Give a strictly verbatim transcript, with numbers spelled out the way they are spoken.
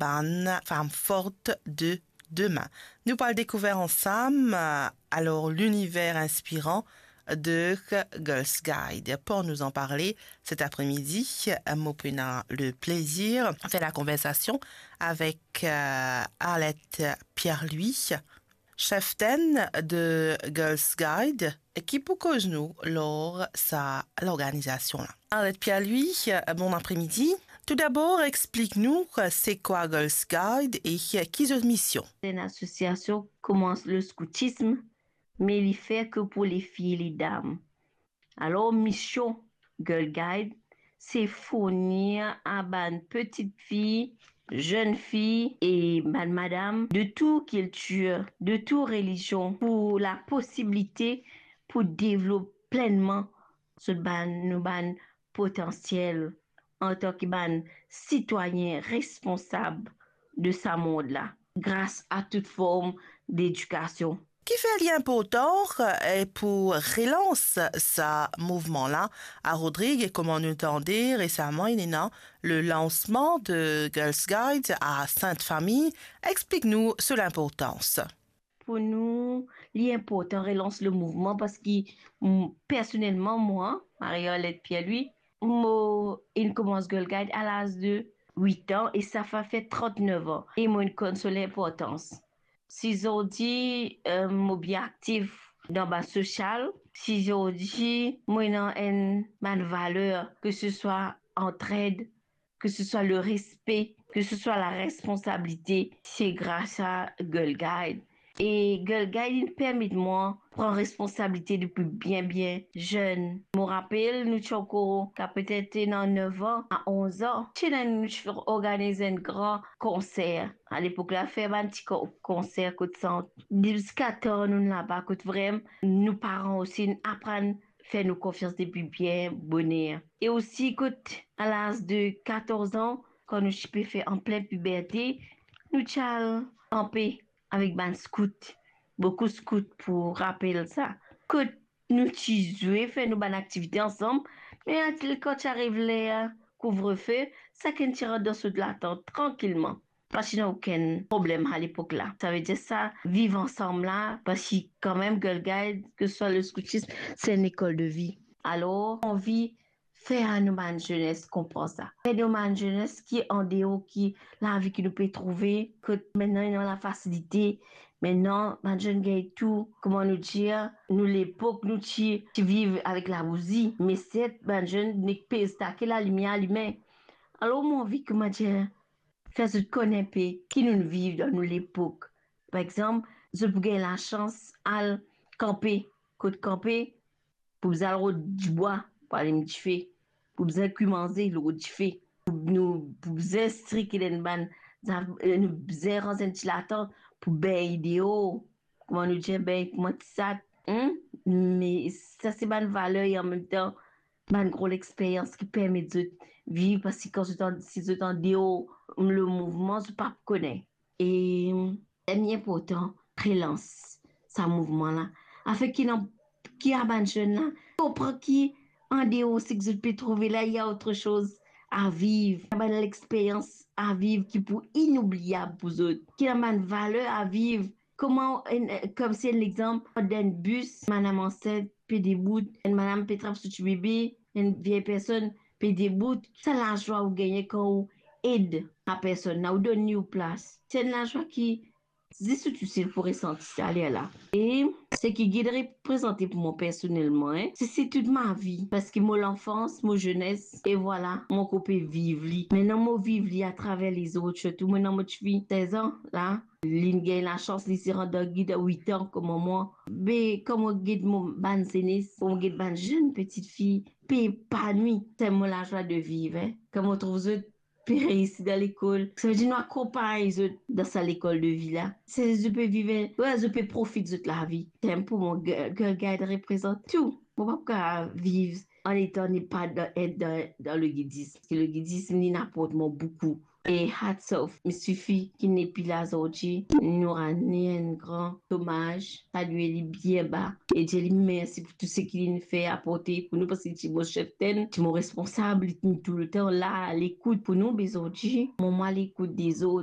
bann fam fort de demin. Nou pou al dekouver ansam, euh, alor, liniver inspiran de Girls Guide. Pour nous en parler cet après-midi, euh, mo pou ena le plezir fer la konversasion avek, euh, Arlette Pierre-Louis, cheftenn de Girls Guide, ki pou koz nou lor sa lorganizasion la. Arlette Pierre-Louis, bon après-midi. Tout dabor, explik nou, euh, se kwa Girls Guide e, euh, ki zot mision? Se enn asosiasion ki koumans le scoutisme, me li fer ke pou lefi e ledam. Alor, mision Girl Guide, se fournir a bann petit fi, zenn fi e bann madam de tou kiltir, de tou relizion, pou la posibilite pou devlop plennman zot bann, nou bann potansiel antan ki bann sitwayin responsab de sa mond la, gras a tout form ledikasion. Kifer li inportan, eh, pou relans sa mouvman la? A Rodrig, e kouma nou tande resaman, inn ena le lansman de Girls Guide a Sint Fami. Explik nou so linportans. Pou nou, li inportan relans le mouvman parski, mm, personelman, mwa, Marie-Arlette Pierre-Louis, mo inn koumans Girl Guide a laz de wit an e sa va fer trant-nef an. E mo inn konn so linportans. Si zordi, eh, mo bien aktif dan bann sosial, si zordi mo ena enn bann valer, ke se swa antred, ke se swa le respe, ke se swa la responsabilite, se gras a Girl Guide. E Girl Guide inn permet mwa pran responsabilite depi bien, bien zenn. Mo rapel, nou ti ankor ka petet ena nef an a onz an. Ti ena, nou ti organiz enn gran konser. A lepok la, fer bann ti ko-, konser kot sant. Ziska tan nou laba, kot vrem-, nou paran osi inn aprann fer nou konfians depi bien boner. E osi kot a laz de katorz an, kan nou ti pe fer anplin piberte, nou ti al kanpe avek bann skout, boukou skout pou rapel sa. Kot nou ti zwe, fer nou bann aktivite ansam, me atil kan ti ariv ler kouvrefe, sakenn ti rant dan so latant trankilman. Pa ti ena okenn problem a lepok la. Savedir sa viv ansam la, parski kanmem Girl Guide, ke se swa le scoutisme, se enn lekol de vi. Alor, anvi fer a nou bann zenes konpran sa. Fer nou bann zenes ki andeor ki lavi ki nou pe trouve, kot mintnan ena lafasilite, mintnan bann zenn gagn tou, kouma nou dir, nou lepok nou ti, ti viv avek labouzi, me set bann zenn nek pe stake lalimier alime. Alor, mo anvi, kouma dir, fer zot konn inpe ki nou viv dan nou lepok. Par exanp, zot pou gagn lasans al kanpe. Kot kanpe, pou bizin al rod dibwa pou alim dife, pou bizin kwi manze lor dife, pou nou, pou bizin strik enn bann, nou bizin ranz enn ti latant pou bengn deor, kouma nou dir, bengn kouma ti sat, hmm? Me sa se bann valer e anmemtan bann gro lexperyans ki permet zot viv, parski kan zot an-, si zot andeor le mouvman, zot pa pou kone. E li inportan relans sa mouvman la, afin ki ena, ki a bann zenn la konpran ki andeor seki zot pe trouve la, ena otresoz a viv, ena bann lexperyans a viv ki pou inoubliab pou zot, ki ena bann valer a viv. Kouma enn, komsi enn lexanp, dan enn bis, madam ansint pe debout, enn madam pe trap so ti bebe, enn vie personn pe debout, sa lazwa ou gagne kan ou ed sa personn la, ou donn li ou plas. Se enn lazwa ki zis ou tousel pou resanti sa lerla. E seki gid reprezante pou mwa personelman, en, se, se tout ma vi, parski mo lanfans, mo zenes, e vwala, mo ankor pe viv li. Mintnan mo viv li atraver lezot, sirtou mintnan mo tifi sez an la, li gagn lasans, li ti rant dan gid a wit an kouma mwa. Be kan mo gid mo bann zenes, mo gid bann zenn petit fi pe epanwi, se mo lazwa de viv, en. Kan mo trouv zot pe reisi dan lekol, savedir nou akonpagn zot dan sa lekol de vi la. Se zot pe viv, we, zot pe profit zot lavi. Temp pou mwa, Girl, Girl Guide reprezant tou. Mo pa pou kapav viv an etan ne pa dan, et dan, dan le gidism. Parski le gidism, li aport mwa boukou. E hats off, mi sifi ki nepi la zordi, nou rant enn gran domaz, salye li bien ba, e dir li mersi pou tou seki li'nn fer, aporte pou nou, parski li ti mo cheftenn, ti mo responsab, li ti toultan la, lekout pou nou, be zordi, mo, mo lekout dezot.